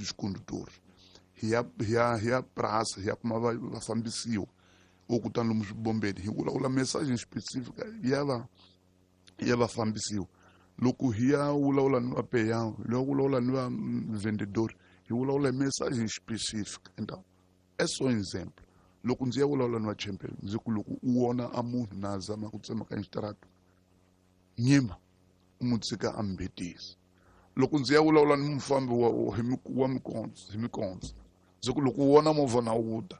dos condutores. Hi ya hi ya hi ya praça, hi ya kuma vafambisiwa o kutani lomu swibombeni hi vulavula message specific ya vafambisiwa. Loko hi ya vulavula ni vapeyawo, hi ya vulavula ni va vendedor, hi vulavula message specific. Então é só um exemplo. Loko ndzi ya vulavula ni vachembeli, ndzi ku loko u vona a munhu na zama ku tsemakanya xitarata, nyima u n'wi tshika a mbetisa. Loko ndzi ya vulavula ni mufambi wa mikondzo hi mikondzo, ndzi ku loko u vona movha na wu ta,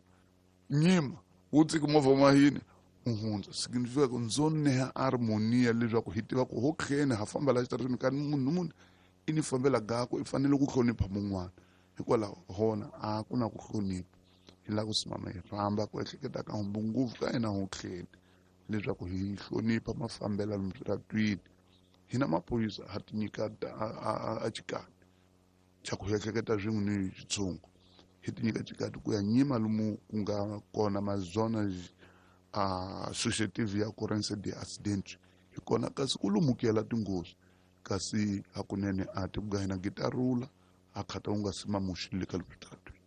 nyima wu tshiki movha mahini u hundza. Significa ku ndzo neha harmonia leswaku hi tiva ku ho kheni ha famba la xitarateni ka munhu ni munhu i ni fambela gako, i fanele ku hlonipha mun'wana. Hikwalaho hona a ku na ku hlonipha. Hi lava ku simama hi rhamba ku ehleketa ka humbu ngopfu ka hina ho kheni leswaku hi hlonipha mafambelo lomu switaratwini. Hina maphorisa ha ti nyika a xikati xa ku ehleketa swin'we ni xitshungu, hi ti nyika xikati ku ya nyima lomu ku nga kona mazona associative ya occurrence de accident hi kona, kasi ku lumukela tinghozi. Kasi hakunene a ti ku hina gitarula a khata u nga sima muxi le ka switaratwini.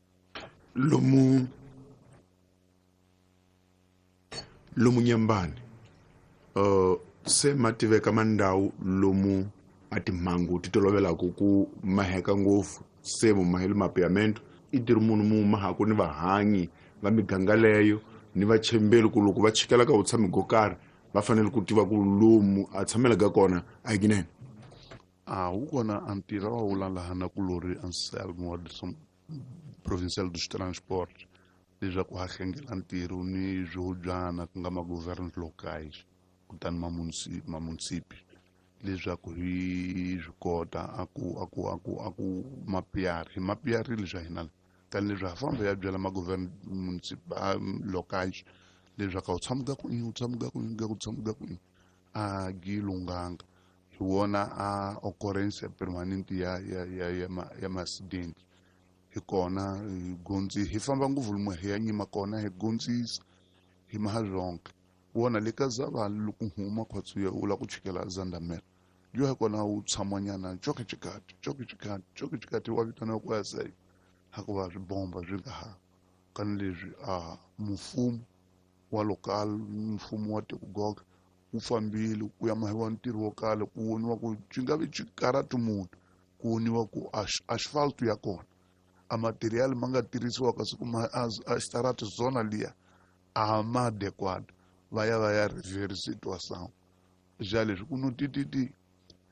Lomu Nyambani, se ma tiveka mandhawu lomu a timhangu ti tolovelaka ku maheka ngopfu, se mu mahele mapeamento i tirhi munhu mu mahaku ni vahanyi va miganga leyo ni vachembeli ku loko va chikela ka vutshami go karhi va fanele ku tiva ku lomu a tshamelaka kona a hi kinene. A wu kona a ntirho wa wula laha na kulori Anselmo wa Provincial dos Transportes leswaku ha hlengela ntirho ni swihobyana ku nga ma-governos locais kutani mamunisipi leswaku hi swi kota a ku a ku a ku a ku mapiyari hi mapiyarile swa hina tani leswi ha famba ya byela ma-govern municipal locais leswaku a wu tshamuka ku u tshamuka ku ku tshamuka ku a gi lunghanga. Hi wona a occurrence permanente ya ma-accident. Hi kona hi gondzi hi famba ngopfu lomu hi ya nyima kona hi gondzisa hi maha zonke wona le ka Zavali. Loko huma khwatsi u lava ku chikela Zandamela yo hi kona wu tshamanyana coke xikati coke xikati coke xikati wa vitaniwa ku ya sayi hikuva swibomba swi nga ha kani leswi a mfumo wa local, mfumo wa tiko wu fambile ku ya mahiwa ntirho wo kala ku voniwa ku xi nga vi xikarati munhu ku voniwa ku asphalt ya kona a material ma nga tirhisiwa kasi kuma a xitarati zona liya a ma adequado, va ya rever situação já leswi ku no tititi.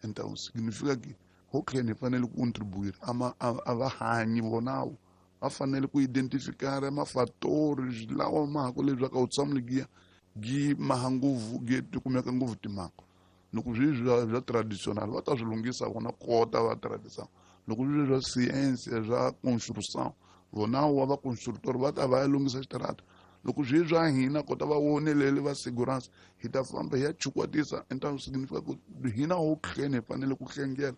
Então significa que okay hi fanele ku contribuir ama a va hanyi vonawo va fanele ku identificar mafatori lawa mahaku leswaku a wu tshamuli giya gi maha ngopfu gi ti kumeka ngopfu timhangu. Loko swi bya traditional va ta swi lunghisa vona kota va traditional, loko swi bya science bya construction vona wa va constructor va ta va ya lunghisa xitarata, loko swi bya hina kota va vonelele va segurança hi ta famba hi ya chukwatisa. Então significa ku hina ho hleni hi fanele ku hlengela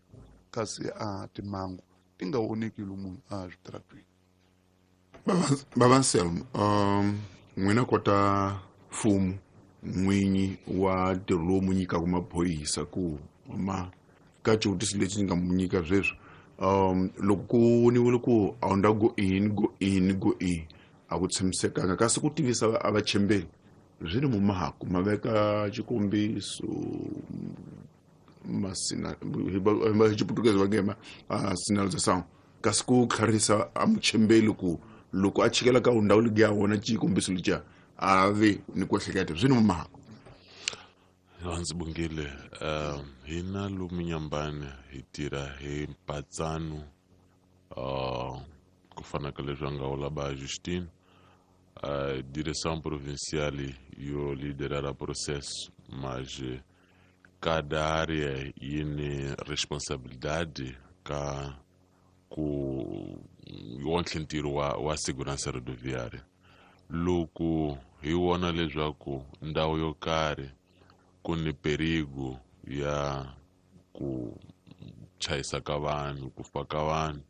kasi a timhangu ti nga voneki lomu a switaratweni. Baba Anselmo, n'wina kota mfumo n'winyi wa ntirho lowu mu nyikaka maphorisa ku ma ka xivutiso lexi ni nga mu nyika sweswi, loko ku voniwile ku a wu nda go in go in go in a ku tshamisekanga, kasi ku tivisa a vachembeli swi ni mumahaku ma veka xikombiso masina hi Xiputukezi va nge ma sinalização, kasi ku tlharisa a muchembeli ku loko a chikela ka ndhawu leyi ya wona xikombiso lexiya a ve ni ku ehleketa swi ni mumahaku. Ndzi bongile. Hina lomu Nyambani hi tirha hi mpatsano, ku fana ka leswi a nga vula ba Justine, a direção provincial yo liderar processo, mas cada área yi ni responsabilidade ka ku wonhle ntirho wa segurança rodoviária. Loko hi vona leswaku ndhawu yo karhi ku ni perigo ya ku chayisa ka vanhu, ku fa ka vanhu,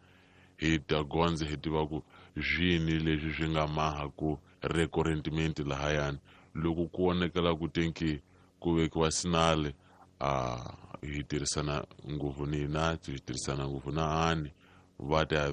hi ta gondza hi tiva ku swini leswi swi nga maha ku recurrentemente lahayani. Loko ku vonakala ku tenki ku vekiwa sinale, a hi tirhisana ngopfu ni hina, hi tirhisana ngopfu na ani va ta ya.